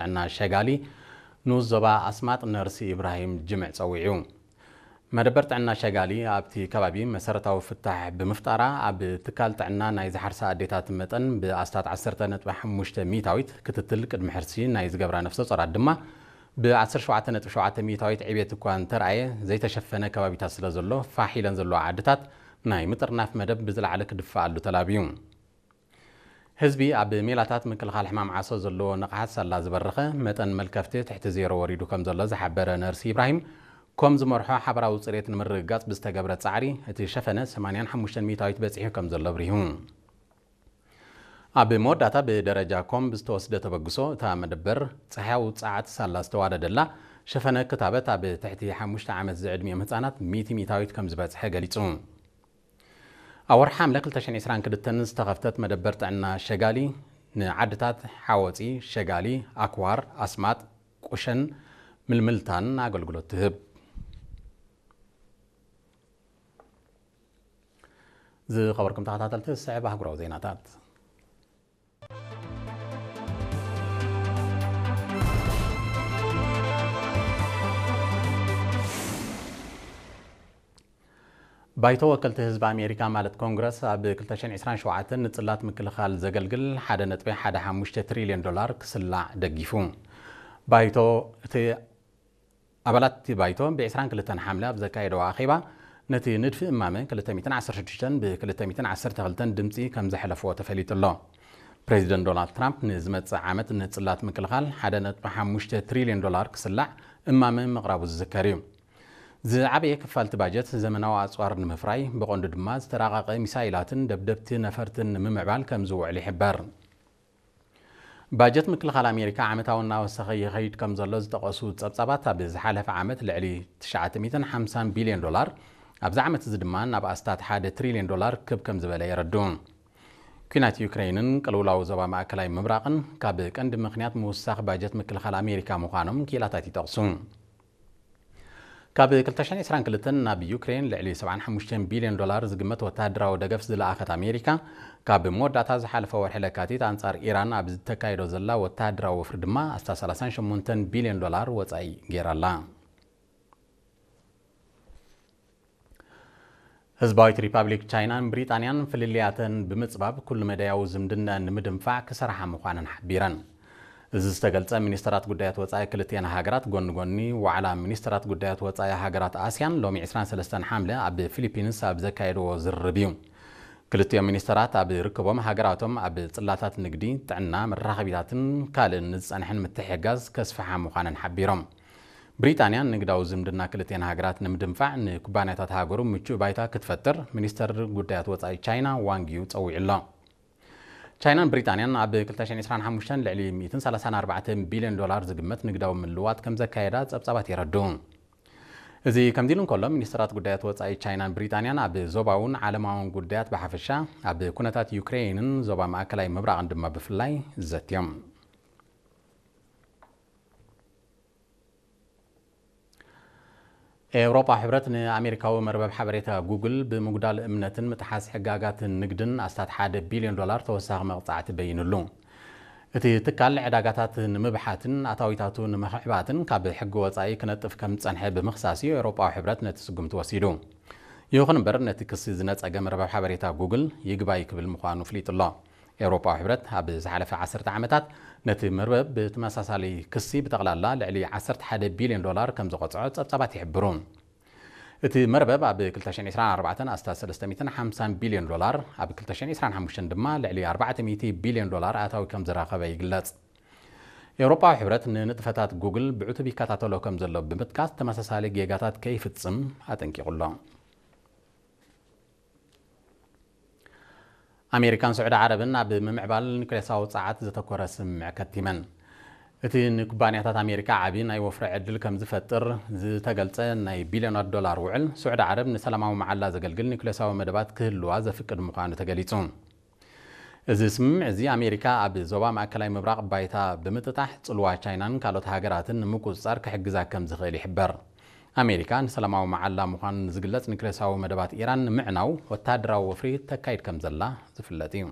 ጥዕና ሸጋሊ ንኡስ ዞባ ኣስማጥ ነርሲ ኢብራሂም ጅምዕ ጸዊዑ። መደበር ጥዕና ሸጋሊ ኣብቲ ከባቢ መሰረታዊ ፍታሕ ብምፍጣራ፣ ኣብ ትካል ጥዕና ናይ ዝሓርሳ ኣዴታት መጠን ብኣስታት ዓሰርተ ነጥቢ ሓሙሽተ ሚእታዊት ክትትል፣ ቅድሚ ሕርሲ ናይ ዝገብራ ነፍሰ ጾራት ድማ ብ ዓሰርተ ሸውዓተ ነጥቢ ሸውዓተ ሚእታዊት ዕብየት እኳ እንተረኣየ፣ ዘይተሸፈነ ከባቢታት ስለ ዘሎ፣ ፋሕ ኢለን ዘለዋ ዓድታት ናይ ምጥርናፍ መደብ ብዝለዓለ ክድፈኣሉ ተላብዩ። ህዝቢ ኣብ ሜላታት ምክልኻል ሕማም ዓሶ ዘለዎ ንቕሓት ሳላ ዝበረኸ፣ መጠን መልከፍቲ ትሕቲ ዜሮ ወሪዱ ከም ዘሎ ዝሓበረ ነርሲ ኢብራሂም፣ ኮም ዝመርሖ ሓበራዊ ጽሬት ንምርግጋጽ ብዝተገብረ ጻዕሪ፣ እቲ ሸፈነ ሰማንያን ሓሙሽተን ሚእታዊት በጺሑ ከም ዘሎ ኣብሪሁ። ኣብ መወዳእታ ብደረጃ ኮም ብዝተወስደ ተበግሶ፣ እታ መደበር ጸሓያዊ ጸዓት ሳላ ዝተዋደደላ፣ ሸፈነ ክታበት ኣብ ትሕቲ ሓሙሽተ ዓመት ዝዕድሚኦም ህጻናት ሚእቲ ሚእታዊት ከም ዝበጽሐ ገሊጹ። ኣብ ወርሒ ሓምለ ክልተ ሽሕን ዕስራን ክልተን ዝተኸፍተት መደበር ጥዕና ሸጋሊ፣ ንዓድታት ሓወፂ፣ ሸጋሊ፣ ኣክዋር፣ ኣስማጥ፣ ቁሸን ምልምልታን ኣገልግሎት ትህብ። ዝኸበርኩም ተኸታተልቲ፣ ዝስዕብ ኣህጉራዊ ዜናታት። ባይቶ ወከልቲ ህዝቢ ኣሜሪካ፣ ማለት ኮንግረስ፣ ኣብ ክልተ ሽሕን ዕስራን ሸውዓተን ንጽላት ምክልኻል ዘገልግል ሓደ ነጥቢ ሓደ ሓሙሽተ ትሪልዮን ዶላር ክስላዕ ደጊፉ። ባይቶ እቲ ኣባላት እቲ ባይቶ ብ ዕስራን ክልተን ሓምለ ኣብ ዘካየደዎ ኣኼባ፣ ነቲ ንድፊ እማመ ክልተ ሚእትን ዓሰርተ ሽዱሽተን ብ ክልተ ሚእትን ዓሰርተ ክልተን ድምጺ ከም ዘሕለፍዎ ተፈሊጡ ኣሎ። ፕሬዚደንት ዶናልድ ትራምፕ ንዝመጽእ ዓመት ንጽላት ምክልኻል ሓደ ነጥቢ ሓሙሽተ ትሪልዮን ዶላር ክስላዕ እማመ ምቕራቡ ዝዝከር እዩ። ዝዓበየ ክፋል እቲ ባጀት ዘመናዊ ኣጽዋር ንምፍራይ፣ ብቐንዱ ድማ ዝተራቐቐ ሚሳይላትን ደብደብቲ ነፈርትን ንምምዕባል ከም ዝውዕል ይሕበር። ባጀት ምክልኻል ኣሜሪካ ዓመታዊ እናወሰኸ ይኸይድ ከም ዘሎ ዝጠቐሱ ጸብጻባት፣ ኣብ ዝሓለፈ ዓመት ልዕሊ ትሽዓተ ሚእትን ሓምሳን ቢልዮን ዶላር፣ ኣብዚ ዓመት እዚ ድማ ናብ ኣስታት ሓደ ትሪልዮን ዶላር ክብ ከም ዝበለ የረድኡ። ኲናት ዩክሬንን ቅልውላው ዞባ ማእከላይ ምብራቕን ካብ ቀንዲ ምኽንያት ምውሳኽ ባጀት ምክልኻል ኣሜሪካ ምዃኖም ክኢላታት ይጠቕሱ። ካብ ክልተ ሽሕን ዕስራን ክልተን ናብ ዩክሬን ልዕሊ ሰብዓን ሓሙሽተን ቢልዮን ዶላር ዝግመት ወተሃደራዊ ደገፍ ዝለኣኸት ኣሜሪካ፣ ካብ መወዳእታ ዝሓለፈ ወርሒ ለካቲት ኣንጻር ኢራን ኣብ ዝተካየዶ ዘላ ወተሃደራዊ ወፍሪ ድማ ኣስታት ሰላሳን ሸሞንተን ቢልዮን ዶላር ወጻኢ ገይራ ኣላ። ህዝባዊት ሪፓብሊክ ቻይናን ብሪጣንያን ፍልልያተን ብምጽባብ፣ ኩሉ መዳያዊ ዝምድናኣን ንምድንፋዕ ክሰርሓ ምዃነን ሓቢረን። እዚ ዝተገልጸ፣ ሚኒስተራት ጉዳያት ወጻኢ ክልቲኣን ሃገራት፣ ጎኒ ጎኒ ዋዕላ ሚኒስተራት ጉዳያት ወጻኢ ሃገራት ኣስያን፣ ሎሚ ዕስራን ሰለስተን ሓምለ ኣብ ፊሊፒንስ ኣብ ዘካየድዎ ዝርርብ እዩ። ክልቲኦም ሚኒስተራት ኣብ ርክቦም፣ ሃገራቶም ኣብ ጽላታት ንግዲ፣ ጥዕና፣ መራኸቢታትን ካልእን ንዝጸንሐን ምትሕግጋዝ ከስፍሓ ምዃነን ሓቢሮም። ብሪጣንያ ንግዳዊ ዝምድና ክልቲኣን ሃገራት ንምድንፋዕ፣ ንኩባንያታት ሃገሩ ምቹእ ባይታ ክትፈጥር፣ ሚኒስተር ጉዳያት ወጻኢ ቻይና ዋንግ ዩ ጸዊዑ ኣሎ። ቻይናን ብሪጣንያን ኣብ ክልተ ሽሕን ዕስራን ሓሙሽተን ልዕሊ ሚእትን ሰላሳን ኣርባዕተን ቢልዮን ዶላር ዝግመት ንግዳዊ ምልውዋጥ ከም ዘካየዳ ጸብጻባት የረድኡ። እዚ ከምዚ ኢሉ እንከሎ፣ ሚኒስተራት ጉዳያት ወጻኢ ቻይናን ብሪጣንያን ኣብ ዞባውን ዓለማውን ጉዳያት ብሓፈሻ፣ ኣብ ኩነታት ዩክሬንን ዞባ ማእከላይ ምብራቕን ድማ ብፍላይ ዘትዮም። ኤውሮጳ ሕብረት ንኣሜሪካዊ መርበብ ሓበሬታ ጉግል ብምጉዳል እምነትን ምጥሓስ ሕጋጋትን ንግድን ኣስታት ሓደ ቢልዮን ዶላር ተወሳኺ መቕጻዕቲ በይኑሉ። እቲ ትካል ዕዳጋታት ንምብሓትን ኣታዊታቱ ንምኽዕባትን ካብ ሕጊ ወጻኢ ክነጥፍ ከም ዝጸንሐ ብምኽሳስ እዩ ኤውሮጳዊ ሕብረት ነቲ ስጉምቲ ወሲዱ። ይኹን እምበር፣ ነቲ ክሲ ዝነጸገ መርበብ ሓበሬታ ጉግል ይግባይ ክብል ምዃኑ ፍሊጡ ኣሎ። ኤውሮጳዊ ሕብረት ኣብ ዝሓለፈ ዓሰርተ ዓመታት ነቲ መርበብ ብተመሳሳሊ ክሲ ብጠቕላላ ልዕሊ ዓሰርተ ሓደ ቢልዮን ዶላር ከም ዝቐጽዖ ጸብጻባት ይሕብሩ። እቲ መርበብ ኣብ ክልተ ሽሕን ዕስራን ኣርባዕተን ኣስታት ሰለስተ ሚእትን ሓምሳን ቢልዮን ዶላር፣ ኣብ ክልተ ሽሕን ዕስራን ሓሙሽተን ድማ ልዕሊ ኣርባዕተ ሚእቲ ቢልዮን ዶላር ኣታዊ ከም ዝረኸበ ይግለጽ። ኤውሮጳዊ ሕብረት ንንጥፈታት ጉግል ብዕቱብ ይከታተሎ ከም ዘሎ ብምጥቃስ፣ ተመሳሳሊ ጌጋታት ከይፍጽም ኣጠንቂቑ ኣሎ። ኣሜሪካን ስዑዲ ዓረብን ኣብ ምምዕባል ኒውክሌሳዊ ጸዓት ዘተኮረ ስምምዕ ከቲመን። እቲ ንኩባንያታት ኣሜሪካ ዓቢ ናይ ወፍሪ ዕድል ከም ዝፈጥር ዝተገልጸ ናይ ቢልዮናት ዶላር ውዕል፣ ስዑዲ ዓረብ ንሰላማዊ መዓላ ዘገልግል ኒውክሌሳዊ መደባት ክህልዋ ዘፍቅድ ምዃኑ ተገሊጹ። እዚ ስምምዕ እዚ፣ ኣሜሪካ ኣብ ዞባ ማእከላይ ምብራቕ ባይታ ብምጥጣሕ፣ ጽልዋ ቻይናን ካልኦት ሃገራትን ንምቁጽጻር ክሕግዛ ከም ዝኽእል ይሕበር። ኣሜሪካ ንሰላማዊ መዓላ ምዃኑ ንዝግለጽ ኒውክሌሳዊ መደባት ኢራን ንምዕናው ወተሃደራዊ ወፍሪ ተካይድ ከም ዘላ ዝፍለጥ እዩ።